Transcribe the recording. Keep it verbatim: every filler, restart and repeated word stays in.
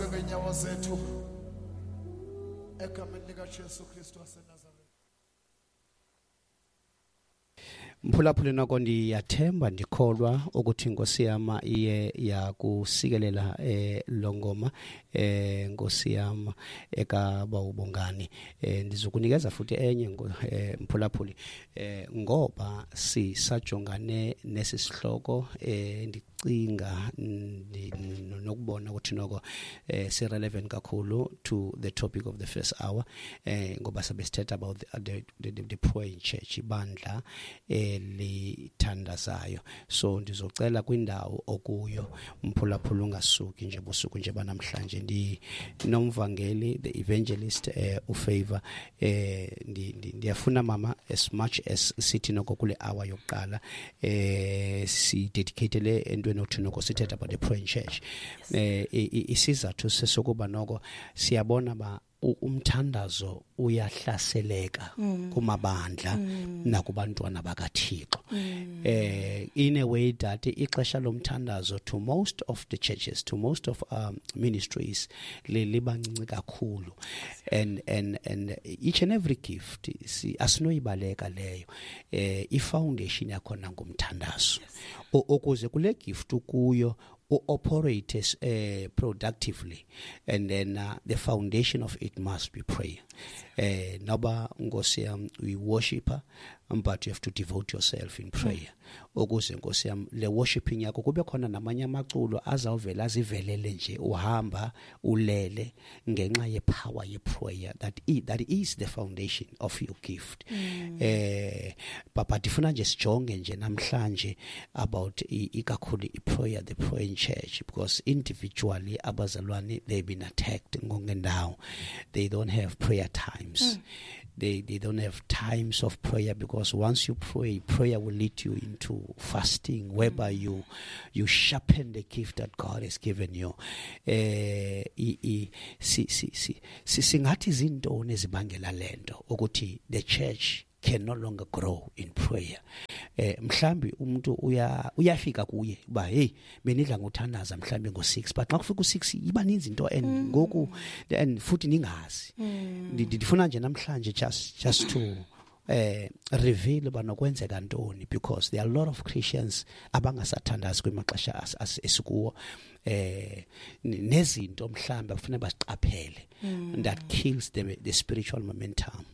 Ngeenyawo zethu egameni likaJesu Kristu waseNazaretha. Mphulaphuli, noko ndiyathemba, ndikholwa ukuthi Nkosi yama iye yakusikelela eh lo ngoma eh Nkosi yama ekaba ubongani. eh ndizokunikeza futhi enye, eh, mphulaphuli, eh ngoba sisajongane nesi sihloko, eh ndicinga nokubona ukuthi noko eh si relevant kakhulu to the topic of the first hour, eh ngoba sabe sithetha about the, the, the, the praying church, ibandla elithandazayo. So ndizocela kwindawo okuyo, mphulaphula, ungasuki nje busuku nje banamhlanje. Ndinomvangeli, the evangelist, eh uFavor. eh ndiyafuna mama, as much as sithi noko kule hour yokuqala eh si dedicate entweni othi noko sithetha about the praying church, eh isizathu sesokuba noko siyabona ba umthandazo uyahlaseleka mm. kumabandla mm. nakubantwana bakaThixo, mm. eh in a way that ixesha lomthandazo to most of the churches, to most of um, ministries libancinci kakhulu, and and and each and every gift si asinoyibaleka leyo, eh i-foundation yakhona ngumthandazo, ukuze kule gift kuyo operate uh, productively, and then uh, the foundation of it must be prayer. eh noba Nkosi yam uyi-worshipper, but you have to devote yourself in prayer ukuze, Nkosi yam, le worshiping yakho kube khona namanye amaculo azawuvela azivelele nje uhamba ulele ngenxa ye-power ye-prayer that is, that is the foundation of your gift. mm. eh papa, ndifuna nje sijonge nje namhlanje about ikakhulu i-prayer, the praying church, because individually abazalwane, they've been attacked ngongendawo. They don't have prayer times. mm. they they don't have times of prayer, because once you pray, prayer will lead you into fasting, whereby mm. you you sharpen the gift that God has given you. eh i si si si singathi izintoni ezibangela lento ukuthi the church can no longer grow in prayer? eh mhlambi umuntu uya uyafika kuye uba hey, benidla ngothandaza mhlambi ngo six, but xa kufika u six iba ninzi into and mm. ngoku and futhi ningazi. mm. Ndifuna nje namhlanje just just to eh reveal ba nokwenzeka ntoni, because there are a lot of Christians abangasathandazi kwimaxesha esikuwo, eh nezinto mhlambe kufanele basiqaphele mm. that kills the the spiritual momentum.